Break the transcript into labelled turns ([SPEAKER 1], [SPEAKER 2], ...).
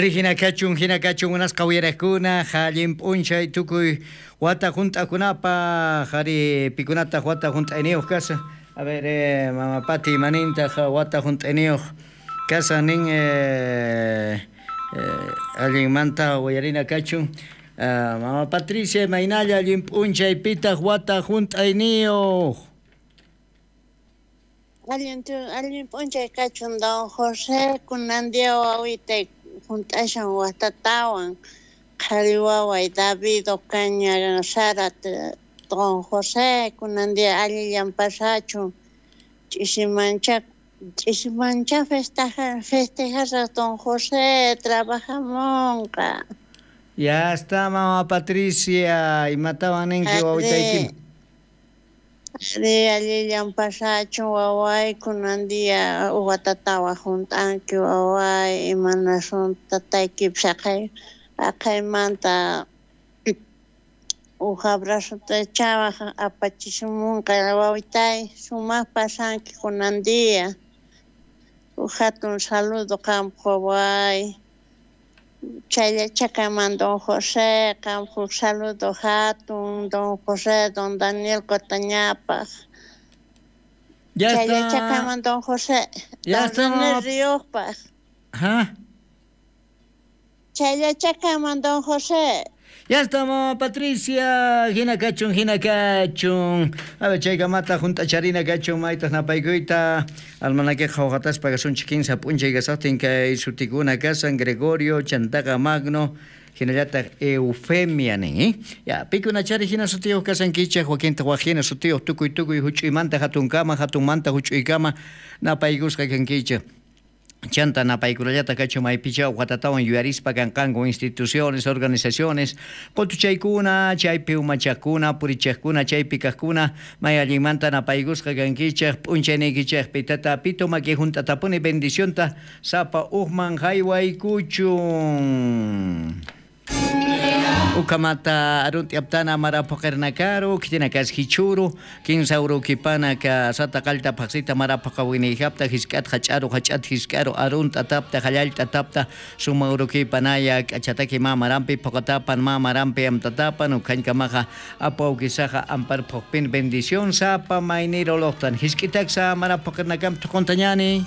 [SPEAKER 1] Ari hina kachun, hina kachun munasqa uyariqkuna, allin p'unchay tukuy wata hunt'akunapaq, ari pikunataq wata hunt'ayniyuq kashan. A ver, mama Pati imanintaq wata hunt'ayniyuq kashan nin allinmanta uyarina kachun. Mama Patricia imaynalla allin p'unchay pitaq wata hunt'ayniyuq.
[SPEAKER 2] Allin allin p'unchay kachun don José kunan día wawitay hunt'ashan watatawan qhari waway David Ocaña Zárate don José kunan día allillan pasachun ch'isimancha ch'isimancha festejasaq don José trabajamunqa.
[SPEAKER 1] Ya está mama Patricia, imatawan ninki wawitayki.
[SPEAKER 2] Ari allillan pasachun waway kunan día watatawan hunt'anki waway imanasun tataykipis haqay haqaymanta uj abrazuta chawaj apachishumunqa wawitay sumaq pasanki kunan día uj hatun saludo qampaq waway chayllachakamanta don José qampaq uj saludo hatun don José don Daniel Cotañapaq.
[SPEAKER 1] Ya está.
[SPEAKER 2] Chayllachakaman don José
[SPEAKER 1] Ya
[SPEAKER 2] don
[SPEAKER 1] está,
[SPEAKER 2] René
[SPEAKER 1] mama.
[SPEAKER 2] Riojpaq.
[SPEAKER 1] Ajá.
[SPEAKER 2] Chayllachakaman don José.
[SPEAKER 1] Ya está, mama Patricia. Hina kachun, hina kachun. A ver, chaykamata hunt'acharina kachun, maytaq napaykuyta. Almanaque qhawqataspa kasunchik kinsa p'unchay kasaqtin kay sutikuna kasan Gregorio, Chantaqa Magno, hinallataq Eufemia nin, ¿eh? Ya, pikunachari hina sutiyuq kasankichik, wakintaq wak hina sutiyuq tukuy tukuy huch'uymanta hatunkama, hatunmanta huch'uykama napaykusqa kankichik. Chanta napaykunallata kachun maypicha watatawan yuyarispa kanqanku instituciones, organizaciones, qutuchaykuna, chaypi umachaqkuna, purichaqkuna, chaypi kaqkuna, may allinmanta napaykusqa kankichik, p'unchayniykichikpi tata pito maki hunt'atapuni bendicionta sapa uqman haywaykuchun. Ukamata arunti aptana marapoqernakaru, kitina kas hichuru, kinsa urukipana ka sata qalta paqsita marapaqawinijapta hisk'at hach'aru hach'at hisk'aru arunta tapta hallalta tapta suma urukipanaya k'achataki mamarampi poqatapan mamarampi amtatapan ukhañkamaqa apawkisaqa amparphuqpin bendición sapa mayniroloqtan hisk'itaksa marapoqernakam tuquntañani.